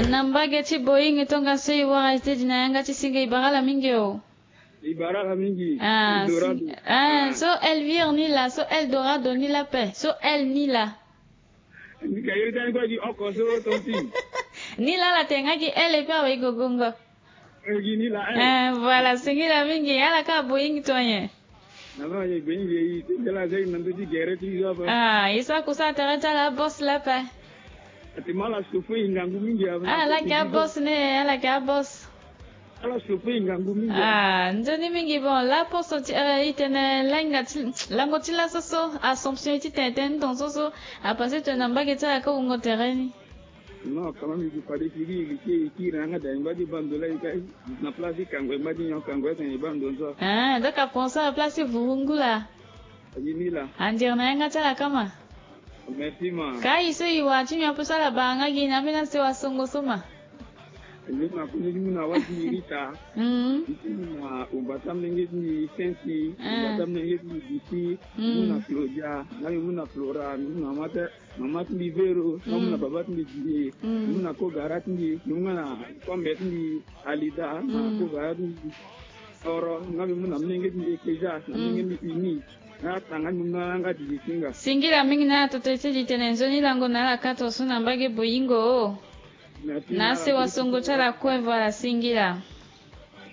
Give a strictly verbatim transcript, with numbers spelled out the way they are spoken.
Na mbage ti Boeing tongaso e wara e tënë na yanga ti singa, e bara ala mingi o. E bara ala mingi. Ah, Eldorado. Ah, so Elvire ni laa, so Eldorado ni laa ape, so El ni laa. Ni ka iri tani kue gi oko so tonti. Ni laa ala tene nga gi El et puis awe e gogongo. Eh, gi ni laa, eh. Ah, voilà, singila mingi, ala ka Boeing to nyen? Na ma ye Boeing ye, ti ndela zai na ndö ti gere ti zo ape. Ah, e sara kusala tere ti ala boss laa ape. Ati ma ala souffrir ngangu mingi ape. Ah, ala yeke aboss ni, ala yeke aboss. Ala souffrir ngangu mingi. Ah, nzoni mingi. Bon, la poste ti, eh, e tene lenga ti, lango ti laso so, Assomption ti tene tene ndo so so, a passé tene na mbage ti ala ka wungo tere ni. Non, quand même, e fade ti gi e gi ti e kiri na yanga da e ngba ti bando la e ka na place ti kango e ngba ti nyon kango e tene e bando so. Ah, donc a pensé na place ti vurungu laa. A gi ni laa. Andiere na yanga ti ala kama. Merci ma. Ka e so e wara ti nyon ape so ala bara nga gi na ambeni asewasongo so ma. Ni ma kue ni mu na wâ ti Rita. Mm. Ni ti mu na umba ti amolenge ti mbi Sensi, umba ti amolenge ti mbi Biti, mu na Claudia, nga mbi mu na Flora, mbi mu na mama ti, mama ti mbi Vero, nga mu na baba ti mbi Didier, mbi mu na kogara ti mbi, mbi mu nga na kombe ti mbi Alida, na kogara ti mbi Soro, nga mbi mu na molenge ti mbi Ekeja, na molenge ti mbi Uni. Nga tanga ni mu na nga didi singa. Singila mingi na ala toto ti di tene nzoni lango na ala ka to so na mbage Boyingo. Merci, na ala sewasongo ti ala kue, voilà, singila.